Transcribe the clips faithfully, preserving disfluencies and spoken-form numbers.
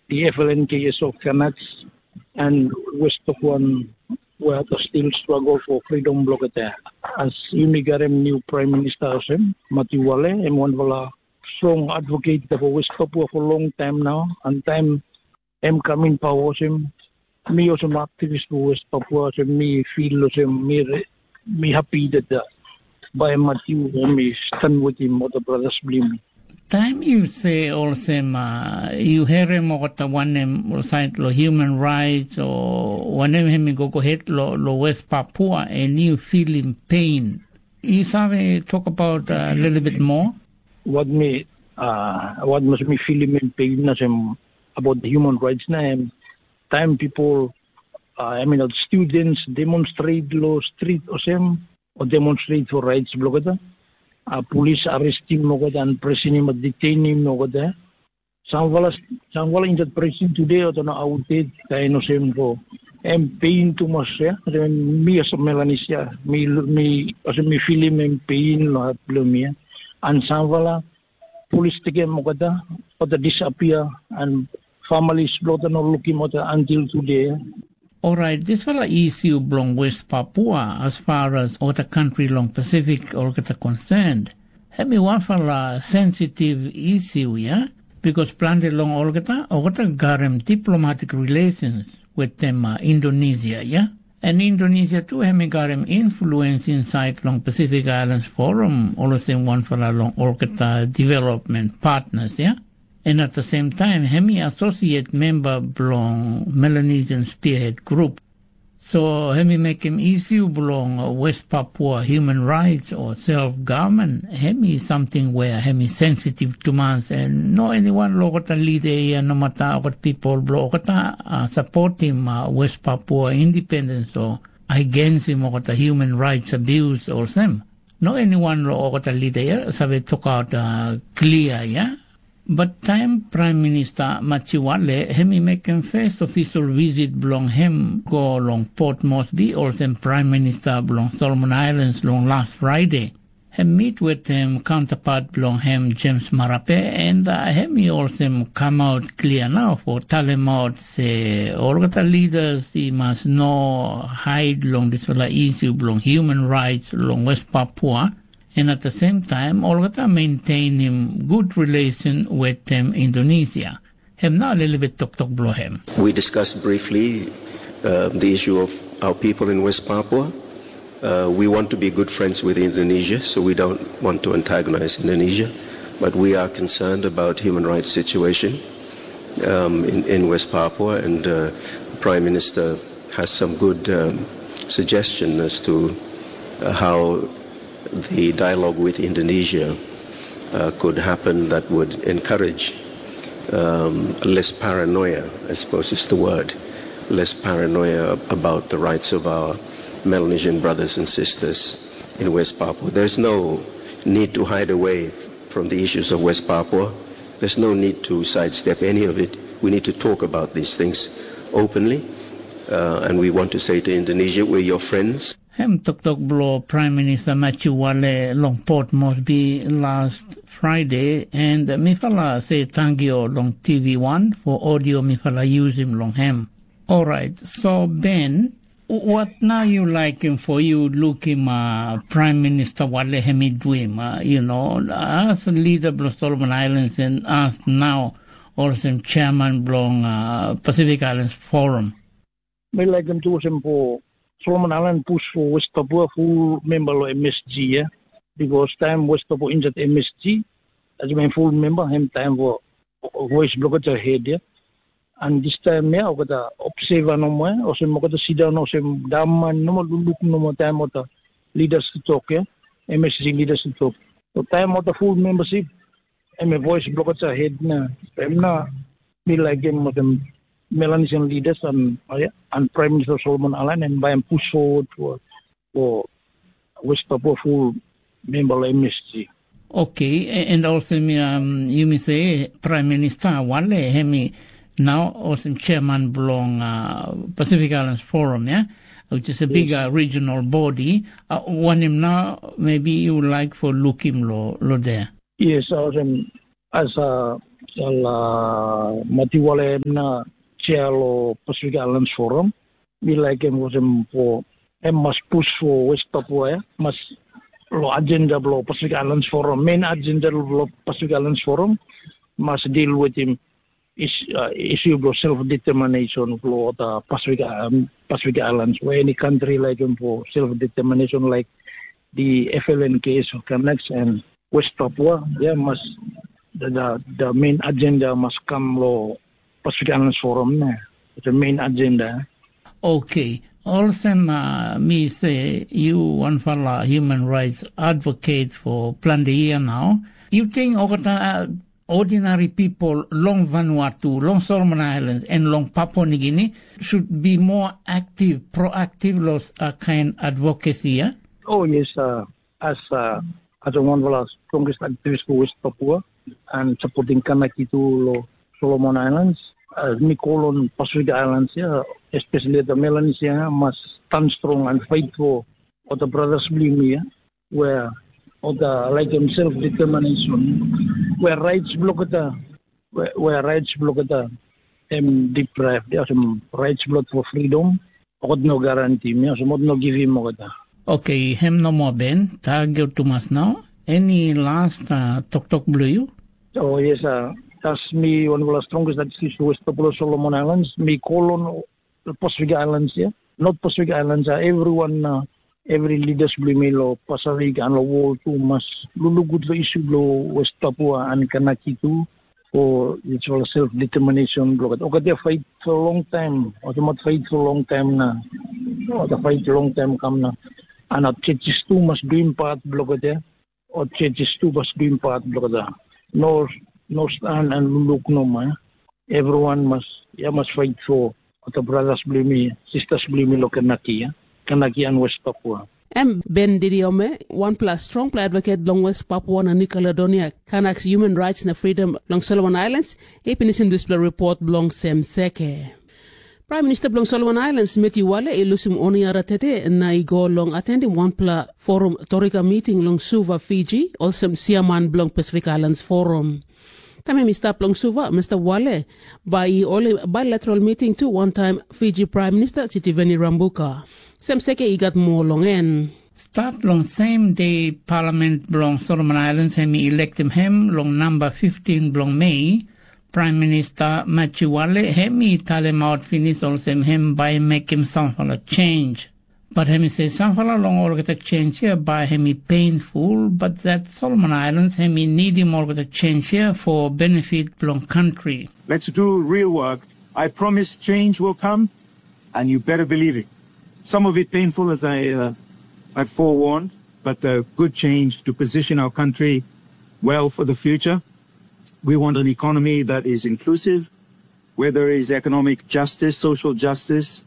the F L N K S of Kanaks and West Papuan where they still struggle for freedom bloketa. As yumi garem new Prime Minister Osem, Mati Wale, em wanpela strong advocate for West Papua for long time now, and time em kam in power Osem, mi olsem aktivis for West Papua, olsem mi feel olsem mi, re- mi happy that uh, by Matthew em i stand with him, other brothers blim. Taim yu se olsem, uh, yu herim olgeta wanem sait lo human rights o wanem hem i go go het lo, lo West Papua, and yu feeling pain. Yu save talk about a uh, little bit more? What me, uh, what must me feeling in pain na sem about the human rights na em time people, uh, I mean, uh, students demonstrate lo street osem, or demonstrate for rights bloketa. Uh, police arrest him okata and prison him, detain him okata. Samwala, samwala in that prison today, or no outdate, kain osem ko. Em pain too much, yeah? Mi as a Melanesia, mi, mi, as mi feeling em pain lo hat lo mi, yeah? And samwala, police taking okata, okata disappear, and families blokata no looking okata until today. Orait, dispela issue bilong West Papua, as far as olgeta country long Pacific olgeta concerned, em i wanpela sensitive issue, ya? Because planti long olgeta, olgeta garem diplomatic relations with them uh, Indonesia, ya? And Indonesia tu em i garem influence inside long Pacific Islands Forum, olsem wanpela long olgeta development partners, ya? And at the same time, em i associate member bilong Melanesian Spearhead Group. So em i mekim issue bilong West Papua human rights o self government, em i something where em i sensitive tumas, and no anyone lo olgeta leader ya, no matter olgeta people bilong olgeta uh, supporting uh, West Papua independence o against him olgeta human rights abuse olsem. No anyone lo olgeta leader ya save talk out uh, clear ya. But taim Prime Minister Machiwale em i mekim first official visit bilong em go long Port Moresby olsem Prime Minister bilong Solomon Islands long last Friday, em meet with em counterpart bilong em James Marape, and uh, em i olsem come out clear now for talem out se olgeta leaders i mas no hide long dispela issue bilong human rights long West Papua, and at the same time olgeta maintainim good relation with them Indonesia. Em na lelebet toktok bilong em. We discussed briefly uh, the issue of our people in West Papua. Uh, we want to be good friends with Indonesia, so we don't want to antagonize Indonesia. But we are concerned about human rights situation um, in, in West Papua, and uh, Prime Minister has some good um, suggestion as to uh, how the dialogue with Indonesia uh, could happen that would encourage um, less paranoia, I suppose is the word, less paranoia about the rights of our Melanesian brothers and sisters in West Papua. There's no need to hide away from the issues of West Papua. There's no need to sidestep any of it. We need to talk about these things openly. Uh, and we want to say to Indonesia, we're your friends. Em toktok bilong Prime Minister Matthew Wale long Port Moresby last Friday, and mifala se tangio long T V one for audio mifala using long him. Alright, so Ben, what now you like him for you look him uh, Prime Minister Wale hemi doing, uh, you know, as leader bilong Solomon Islands and as now also chairman bilong uh, Pacific Islands Forum? Mi laikim tu olsem po Solomon Island pus for West Papua full member lo M S G ya. Because time West Papua inside M S G, as my full member, him time for voice blocker to head ya. And this time ya, okata observer no more, olsem okata sit down olsem daman no more look no more time okata leaders to talk ya, M S G leaders to talk. So time okata full membership, em a voice blocker to head na, em na mi laikim olsem Melanesian leaders and, uh, yeah, and Prime Minister Solomon Island and by him push forward for, for West Papua full member M S G. Okay, and also um, you may say Prime Minister Wale hemi now also chairman belong uh, Pacific Islands Forum, yeah, which is a big uh, regional body. Uh, one him now maybe you would like for look him lo, lo there. Yes, awesome. As a Ol Matiwale em na chia lo Pacific Islands Forum. Mi laikim olsem po em mas pus fo West Papua ya, mas lo agenda blo Pacific Islands Forum, main agenda blo Pacific Islands Forum mas deal wetim is, uh, issue blo self determination blo the Pacific, um, Pacific Islands, where any country like him for self determination, like the F L N K S of Connects and West Papua, yeah, must the, the, the main agenda must come lo Pacific Islands Forum ne. It's a main agenda. Okay. Olsem uh, mi se yu wanfala human rights advocate for planti year now. You think olgeta uh, ordinary people long Vanuatu, long Solomon Islands, and long Papua New Guinea should be more active, proactive lo uh, kind advocacy, yeah? Oh yes, uh, as uh, as a one of the strongest activists for West Papua and supporting Kanaki to lo Solomon Islands. Uh, mi call on Pacific Islands, yeah, especially the Melanesia, must stand strong and fight for all the brothers bli mi, yeah, where all the like himself determination, where rights blockada, where, where rights blockada, em deprived, yeah, some rights block for freedom, okot no guarantee, yeah, some no give him okada. Okay, hem no more Ben, tagyo tumas now. Any last uh, tok tok blue you? Oh yes, uh, that's me one of the strongest that is West Papua Solomon Islands. Me call on the Pacific Islands, yeah, not Pacific Islands, uh, everyone, uh, every leaders bli mi lo Pacific and lo world too mas lulu good lo issue blo West Papua and Kanaki too for its all self determination blo kat. Okat dia fight for a long time, otomat fight for a long time na, otomat fight long time kam na. And our churches too must do im part blo kat dia. Or churches too must do im part blo kat dia. No, no stand and look no man. Everyone must, yeah, must fight for the brothers bli mi, sisters bli mi lo Kanaki, yeah? Kanaki and West Papua. Em Ben Didiome, wanpela strongpela advocate bilong West Papua na New Caledonia, Kanaks human rights na freedom long Solomon Islands, i pinisim dispela report bilong Sem Seke. Prime Minister bilong Solomon Islands, Matthew Wale, i lusim oni ara tete na i go long atendim wanpela forum torika meeting long Suva, Fiji, olsem siaman bilong Pacific Islands Forum. Taim em i stap long Suva, Mr. Wale bai i holim bilateral meeting tu wantaim Fiji Prime Minister Sitiveni Rambuka. Sem Seke i gat moa long en. Stat long sem de Palament bilong Solomon Islands em i elektim hem long namba fifteen bilong Mei, Prime Minister Machiwale em i talemaut pinis olsem em bai mekim sampela change. But em i se sampela long olgeta change here bai em i painful, but that Solomon Islands em i nidim olgeta change here for benefit bilong country. Let's do real work. I promise change will come, and you better believe it. Some of it painful, as I, uh, I forewarned, but a good change to position our country well for the future. We want an economy that is inclusive, where there is economic justice, social justice.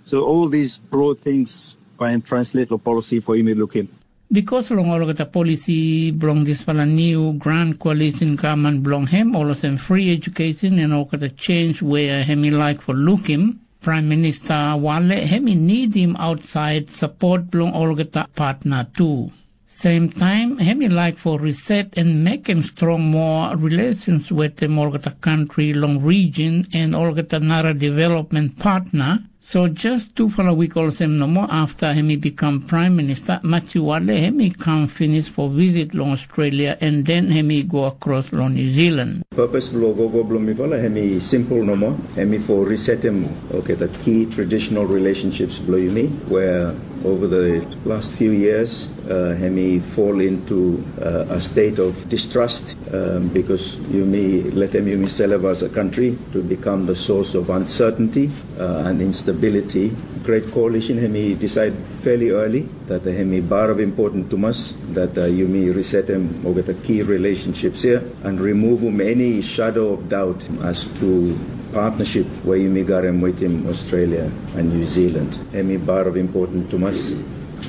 So all these broad things by and translate the policy for Imi Lukim. Because long olgeta policy bilong dispela new Grand Coalition government bilong him, olsem free education and olgeta change where him i like for looking, Prime Minister Wale him i need him outside support bilong olgeta partner too. Same time, him i like for reset and make him strong more relations with them olgeta country long region and olgeta nara development partner. So just tufala wik olsem nomo afta em i become Prime Minister, Machiwale em i kam pinis for visit long Australia, and then em i go across long New Zealand. Purpose bilong gogo bilong mifala em i simple nomo, em i for resetem olgeta key traditional relationships bilong yumi, where over the last few years uh, em i fall into uh, a state of distrust um, because yumi let them yumi serve as a country to become the source of uncertainty uh, and instability. Great Coalition em i decide fairly early that em i bar of important to us that uh, yumi reset them over the key relationships here and remove them any shadow of doubt as to partnership where yumi got him with him Australia and New Zealand. Em i bar of important to us,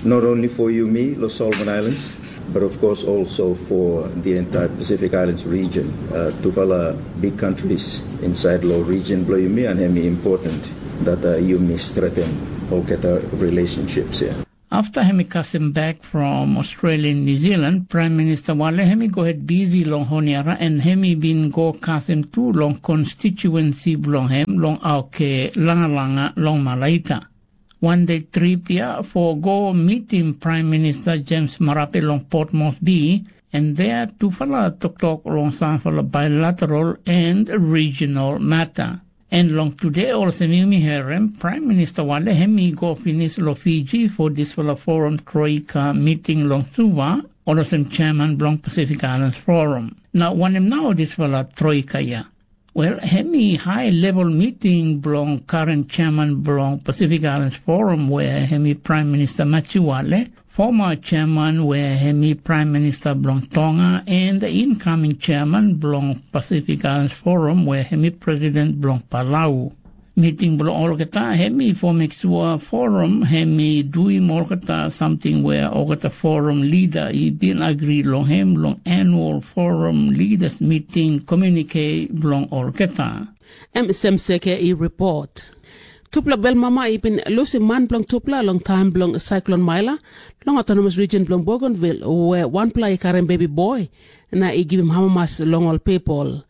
not only for yumi, Los Solomon Islands, but of course also for the entire Pacific Islands region. Uh, tufala big countries inside lo region bilong yumi, and em important that uh, yumi strengthen olgeta relationships here. Afta em i kasim bek from Australia na New Zealand, Prime Minister Wale em i go het bisi long Honiara, na em i bin go kasim tu long konstituensi bilong em long Auke Langalanga long Malaita. Wan de trip ya for go mitim Prime Minister James Marape long Port Moresby, en there tufala toktok long sampela bilateral and regional matter. En long tude olsem yumi herim, Prime Minister Wale em i go pinis long Fiji for dispela forum Troika meeting long Suva, olsem chairman bilong Pacific Islands Forum. Na wanem nau dispela Troika ya? Wel, em i high level meeting bilong current chairman bilong Pacific Islands Forum, where em i Prime Minister Matthew Wale, former chairman where em i Prime Minister bilong Tonga, and the incoming chairman bilong Pacific Islands Forum, where em i President bilong Palau. Meeting bilong olgeta em i for make sure forum em i duim olgeta samting where olgeta forum leader i bin agree long em long annual forum leaders meeting communique bilong olgeta. Em Semseke i report. Tupela belmama i bin lusim man bilong tupela long taim bilong saiklon Maila long autonomous region bilong Bougainville, where wanpela i karim bebi boy na i givim amamas long ol pipel.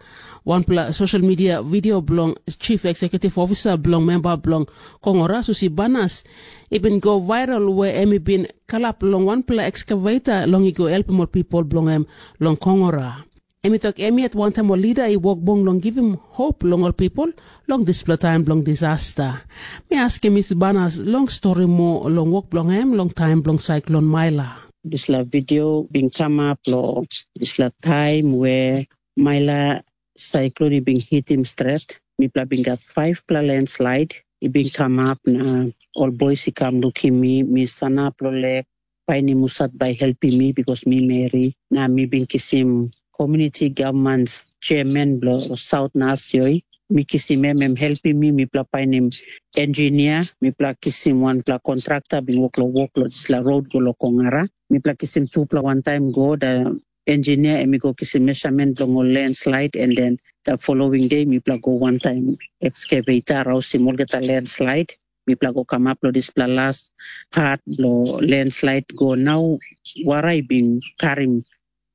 Wanpela social media video bilong chief executive officer bilong memba bilong Kongora, Susi Banas, i bin go viral, where em i bin kalap long wanpela excavator long i go helpim ol pipel bilong em long Kongora. Em i tok em yet wantaim ol lida i wok bung long givim hop long ol pipel long dispela taim bilong disasta. Mi askim Miss Banas long stori moa long wok bilong em long taim bilong saiklon Maila. Dispela video bin kamap long dispela taim we Maila saiklon i bin hitim stret. Mipela bin gat faivpela landslide i bin kamap, na ol bois i kam lukim mi. Mi sanap long lek, painim husat bai helpim mi, bikos mi meri, na mi bin kisim komuniti gavman chairman bilong Saut Nasioi. Mi kisim em, em helpim mi. Mipela painim engineer, mipela kisim wanpela kontrakta bin wok long wok long dispela rot go long Kongara. Mipela kisim tupela wantaim go, da engineer em i go kisim measurement bilong ol landslide, and then the following day mipela go wantaim excavator rausim olgeta landslide. Mipela go kamap long dispela las pat long landslide go. Nau wara i bin karim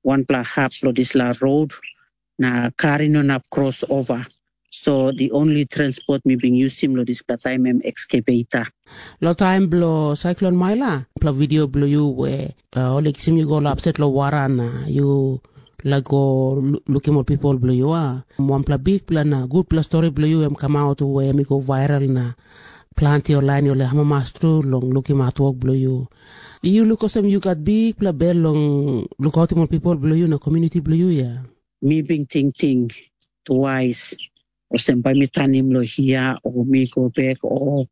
wanpela hap long dispela rot, na kar i no inap kros ova. So the only transport mi bin yusim long dispela taim em excavator. Long taim bilong saiklon Maila, pela video bilong yu we uh, ol i kisim yu go lapset long wara na yu laik go lu- lukim ol pipel bilong yu, a? Wanpela bikpela na gutpela stori bilong yu em kamaut we em i go viral na planti ol lain ol i amamas tru long lukim hatwok bilong yu. Yu luk olsem yu gat bikpela bel long lukautim ol pipel bilong yu na komuniti bilong yu, ya? Mi bin tingting twais, olsem bai mi tanim long hia o mi go bek o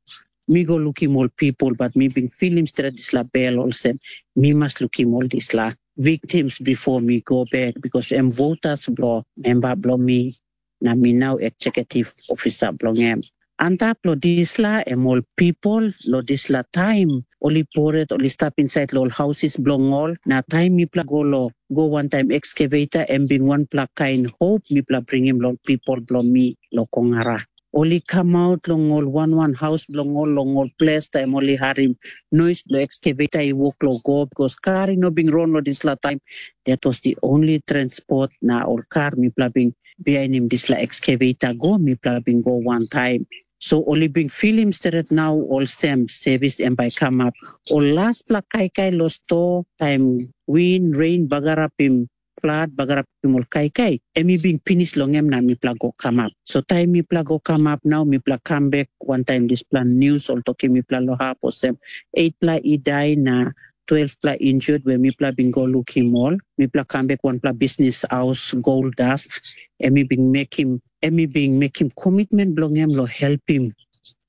mi go lukim ol pipel, bat mi bin filim stret dispela bel olsem mi mas lukim ol dispela victims bipo mi go bek, bikos em votas bilong memba bilong mi, na mi nau eksekutiv ofisa bilong em. Antap long dispela em ol pipel long dispela taim ol i poret, ol i stap insait long ol hausis bilong ol, na taim mipela go long go wantaim ekskaveta, em bin wanpela kain hop mipela bringim long pipel bilong mi long Kongara. Ol i kamaut long ol wan wan haus bilong ol long ol ples taim ol i harim nois bilong ekskaveta i wok long go, bikos kar i no bin ron long dispela taim. That was the only transport na ol kar mipela bin bihainim dispela ekskaveta go, mipela bin go wantaim. So ol i bin filim stret nau olsem sevis em bai kamap. Ol laspela kaikai long sto taim win, rein bagarapim, flat bagarapim ol kaikai, em i bin pinis long em na mipela go kamap. So taim mipela go kamap nau, mipela kam bek wantaim dispela nius ol tokim mipela long hap olsem, eitpela i dai na twelvpela injut we mipela bin go lukim ol. Mipela kam bek wanpela bisnis haus Gold Dust, em i bin mekim em i bin mekim komitmen bilong em long helpim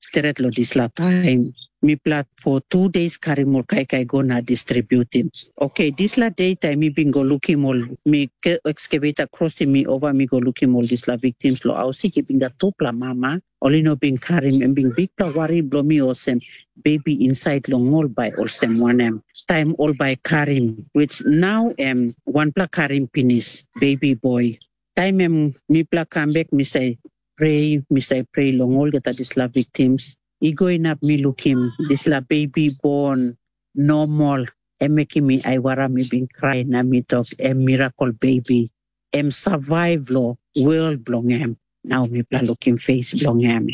stret long dispela taim. Mipela for tu days karim ol kaikai go na distributim. Oke, dispela de taim mi bin go lukim ol, mi ekskaveta krosim mi ova, mi go lukim ol dispela viktims long haus sik, i bin gat tupela mama. Ol i no bin karim, em bin bikpela wari bilong mi olsem, bebi insait long ol bai olsem wanem. Taim ol bai karim, which nau em wanpela karim pinis, bebi boy. Taim em mipela kam bek, mi save prea, mi save prea long olgeta dispela viktims. I go inap mi lukim dispela bebi bon Nomol, em mekim mi aiwara mi bin krai na mi tok, em mirakel bebi. Em survive lo world bilong em. Nau mipela lukim face bilong em.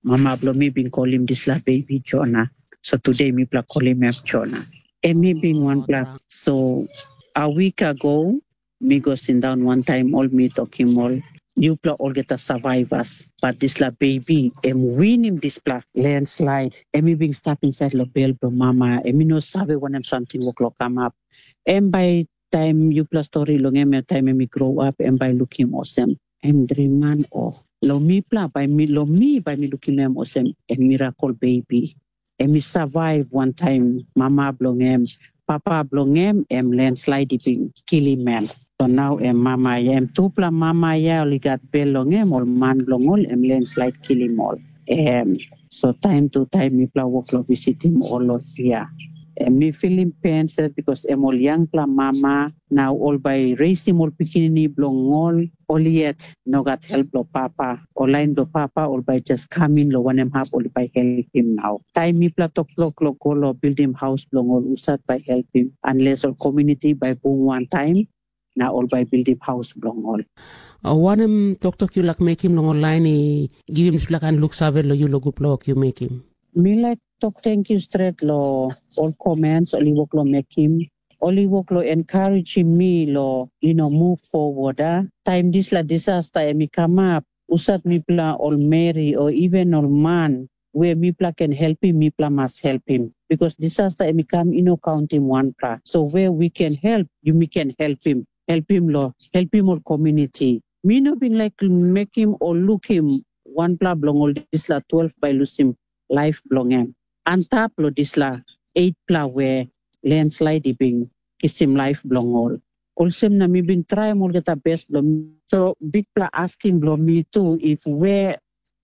Mama bilong mi bin kolim dispela bebi Jona. So today mipela kolim em Jona. Em mi bin wanpela. So a week ago, mi go sindaun wantaim ol mi tokim ol, yupela olgeta survivors, but dispela bebi em winim dispela landslide. Em i bin stap insait long bel bilong mama, em i no save wanem samting wok long kamap. Em bai taim yupela stori long em, taim em i grow up, em bai lukim olsem, em driman o. Long mipela, bai mi, long mi, bai mi lukim em olsem, em mirakel bebi. Em i survive wantaim mama bilong em, papa bilong em, em landslide i bin kilim em. So nau em mama ya, em tupela mama ya ol i gat bel long em, ol man bilong ol, em landslide kilim ol. Em, so taim tu taim mipela wok long visitim ol long hia. Em mi filim pen stret, bikos em ol yangpela mama, na ol bai reisim ol pikinini bilong ol, ol yet no gat help bilong papa. Ol lain bilong papa, ol bai jas kam in long wanem hap ol bai helpim nau. Taim mipela toktok long go long bildim haus bilong ol, husat bai helpim, unless ol komuniti bai bung wantaim, na ol bai bildim haus bilong ol. O wanem toktok yu laik mekim long ol lain i givim dispela kain luksave long yu long gutpela wok yu mekim? Mi laik tok tenkyu stret long ol comments ol i wok long mekim. Ol i wok long encouragim mi long, you know, move forward, a. Taim dispela disaster em i kamap, husat mipela ol meri o even ol man, we mipela ken helpim, mipela mas helpim. Because disaster em i kam i no kauntim wanpela. So where we can help, yumi ken helpim. Helpim lo, helpim ol community. Mi no bin laik mekim o lukim wanpela bilong ol dispela twelve bai lusim laip bilong em. Antap long dispela eitpela we landslide i bin kisim laip bilong ol. Olsem na mi bin traim olgeta bes bilong mi. So bikpela askim bilong mi tu, if we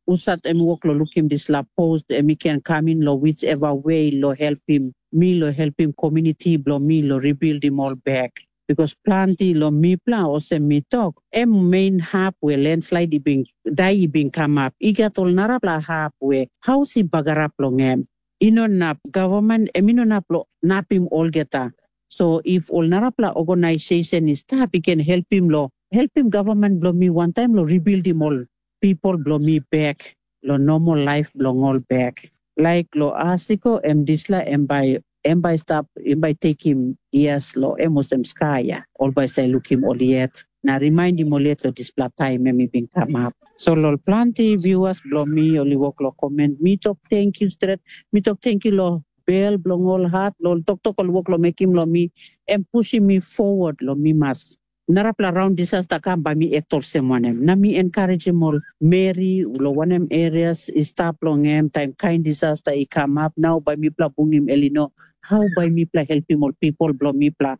husat em i wok long lukim dispela post, em i ken kam in long whichever way long helpim mi, long helpim komuniti bilong mi long rebildim ol bek. Bikos planti long mipela, olsem mi tok, em main hap we landslide i bin dai i bin kamap. I gat ol narapela hap we haus i bagarap long em. I no inap, gavman em i no inap long napim olgeta. So if ol narapela organisasion i stap, i ken helpim long, helpim gavman bilong mi wantaim long rebildim ol pipel bilong mi bek, long normal laip bilong ol bek. Laik long asiko em dispela em bai, em bai stap, em bai tekim years long em olsem skaia. Ol bai save lukim ol yet, na rimainim ol yet long dispela taim em i bin kamap. So long planti viewers bilong mi, ol i wok long comment, mi tok tenkyu stret, mi tok tenkyu long bel bilong ol hat, long toktok ol wok long mekim long mi, em pusim mi forward long mi mas. Narapela raun disaster kam bai mi act olsem wanem? Na mi encouragim ol meri long wanem areas i stap long em, taim kain disaster i kamap, nau bai mipela bungim el i no, hau bai mipela helpim ol pipel bilong mipela?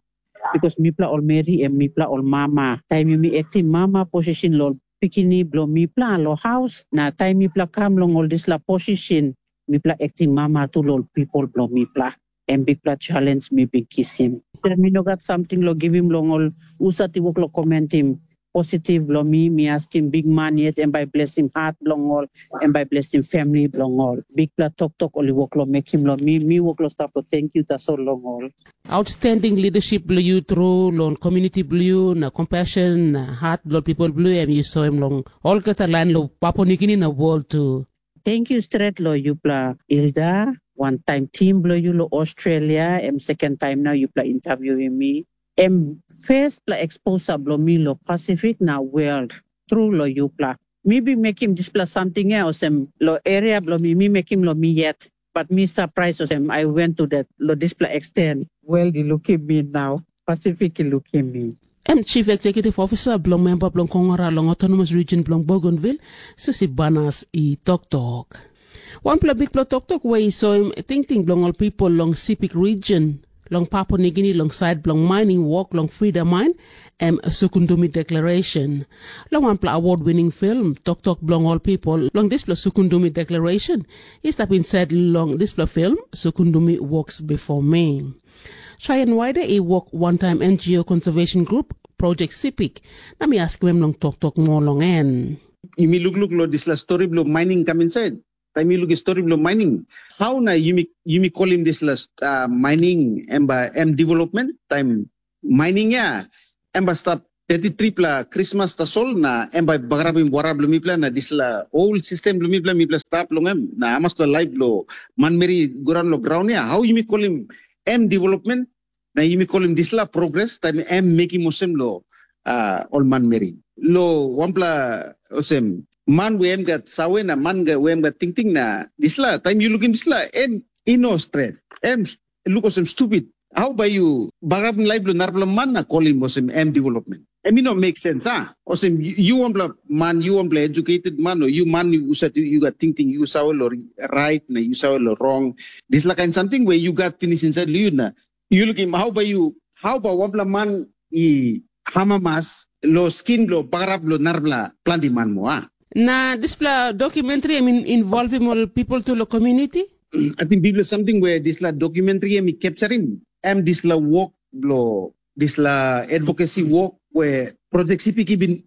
Bikos mipela ol meri em mipela ol mama. Taim yumi aktim mama posisin long pikinini bilong mipela long haus, na taim mipela kam long ol dispela posisin, mipela aktim mama tu long ol pipel bilong mipela. Em bikpela challenge mi bin kisim. Mi no gat samting long givim long ol husat i wok long komentim positif long mi. Mi askim bikman yet em bai blesim hat bilong ol, em bai blesim famili bilong ol. Bikpela toktok ol i wok long mekim long mi, mi wok long stap long tenkyu tasol long ol. Outstanding leadership bilong yu tru long community bilong yu na compassion na hat bilong people bilong yu em yu soim long olgeta lain long Papua Nugini na world tu. Thank you stret lo yupela Ilda, wantaim tim bilong yu lo Australia, em second time na yupela interviewim mi. Em firstpela exposure bilong mi lo Pacific na world, tru lo yupela. Mi bin mekim dispela samting ya olsem lo area bilong mi, mi mekim lo mi yet. But mi surprise olsem I went to that lo dispela extent. World i lukim mi nau, Pacific i lukim mi. Em Chief Executive Officer bilong memba bilong Kongara long Autonomous Region bilong Bougainville, Susi Banas i toktok. Wanpela bikpela toktok we i soim tingting bilong ol pipel long Sipik Region, long Papua Nigini long sait bilong mining wok long Frida Main, em Sukundumi Declaration. Long wanpela award winning film, toktok bilong ol pipel long dispela Sukundumi Declaration i stap insait long dispela film, Sukundumi Walks Before Me. Cheyenne Waide i wok wantaim N G O Conservation Group, Project Sipik, na mi askim em long toktok moa long en. Yumi lukluk long dispela stori bilong mining kam insait. Taim yu lukim stori bilong mining, hau na yumi, yumi kolim dispela uh, mining em ba em development? Taim mining ya, em ba stap thirty-three-pela Krismas tasol na em bai bagarapim wara bilong mipela na dispela ol sistem bilong mipela, mipela stap long em. Na hamaspela laip bilong manmeri go daun long graun ya, hau yumi kolim em development? Na yumi kolim dispela progres, taim em mekim olsem lo uh, ol manmeri. Lo wanpela olsem, man we em gat sawe na man we em gat tingting na dispela, taim yu lukim dispela, em i no stret. Em luk olsem stupid. Hau bai yu bagarapim laip bilong narapela man na kolim olsem em development? Em i no make sense, a? Olsem, yu wanpela man, yu wanpela educated man, o yu man yu husat yu gat tingting, yu save lo right na yu save lo wrong. Dispela kain samting we yu gat pinis insait lo yu na yu lukim hau bai yu, hau bai wanpela man i hamamas lo skin bilong bagarap lo narapela planti man moa? Na dispela dokumentri em involvim ol pipel tu lo komuniti? Ating biblia samting we dispela dokumentri em i capturim, em dispela wok bilong dispela advocacy wok we Project Sipik i bin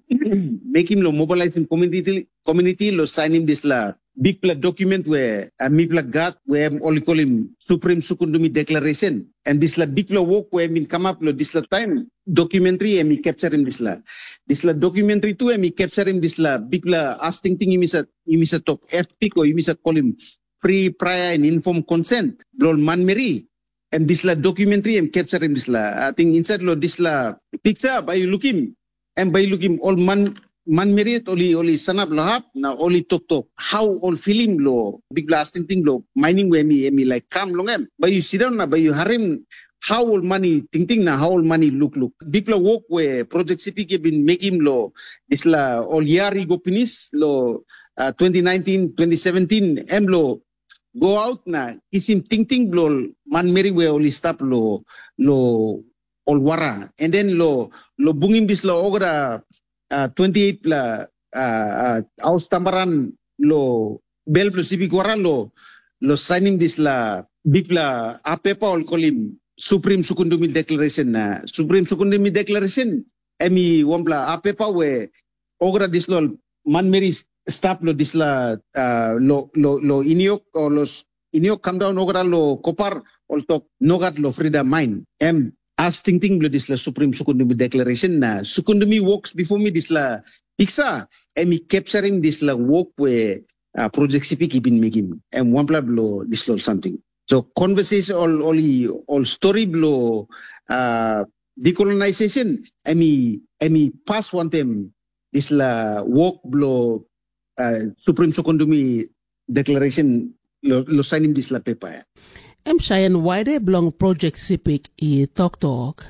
mekim lo mobilizing community, community lo sainim dispela bikpela document we uh, mipela gat we em ol i kolim Supreme Sukundumi Declaration. Em dispela bikpela wok we em bin kamap lo dispela taim dokumentri em i capturim dispela. Dispela dokumentri tu em i capturim dispela bikpela as tingting yumi sa tok etik o yumi sa kolim free, prior and informed consent bilong manmeri. Em dispela dokumentri em capturim dispela. Ating insait lo dispela piksa bai yu lukim, em bai yu lukim ol man manmeri yet ol i ol i sanap lo hap na ol i toktok hau ol filim lo bikpela as tingting lo mining we em i em i laik kam long em. Bai yu sindaun na bai yu harim hau ol man i tingting na hau ol man i lukluk. Bikpela wok we Project Sipik i bin mekim lo dispela ol yar i go pinis lo uh, twenty nineteen, twenty seventeen, em lo go out na kisim tingting bilong ol manmeri we ol i stap lo lo ol wara, and then lo lo bungim dispela olgeta uh, twenty-eight pela uh, uh, haus tambaran lo bel bilong sipik wara lo lo sainim dispela bikpela apepa ol kolim Supreme Sukundumi Declaration. Na Supreme Sukundumi Declaration em i wanpela apepa we olgeta dispela ol manmeri stap lo dispela uh, lo, lo, lo iniok o lo iniok kam daun olgeta lo kopar, ol tok nogat lo frida main. Em as tingting bilong dispela Supreme Sukundumi Declaration na Sukundumi Works before me dispela piksa, em i capturim dispela wok we uh, Project Sipik i bin mekim. Em wanpela bilong dispela ol samting. So conversation ol ol i ol story bilong uh, decolonization em i em i pas wantem dispela wok bilong uh, Supreme Sukundumi Declaration lo, lo sainim dispela pepa ya. Em Cheyenne Waide bilong Project Sipik i toktok.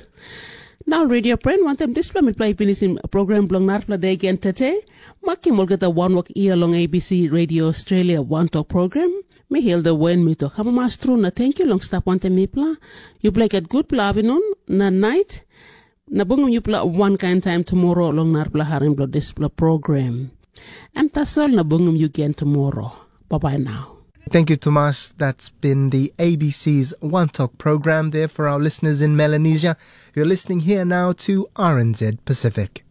Nau redio pren wantaim dispela mipela i pinisim program bilong narapela de gen tete. Makim olgeta wanwok ia long A B C Radio Australia wantok program. Mi Hilda Wen mi tok amamas tru na tenkyu long stap wantaim mipela. Yupela i gat gutpela avinun na nait. Na bungim yupela wankain taim tumora long narapela harim bilong dispela program. Em tasol na bungim yu gen tumora. Bye bye now. Thank you, Thomas. That's been the A B C's One Talk program there for our listeners in Melanesia. You're listening here now to R N Z Pacific.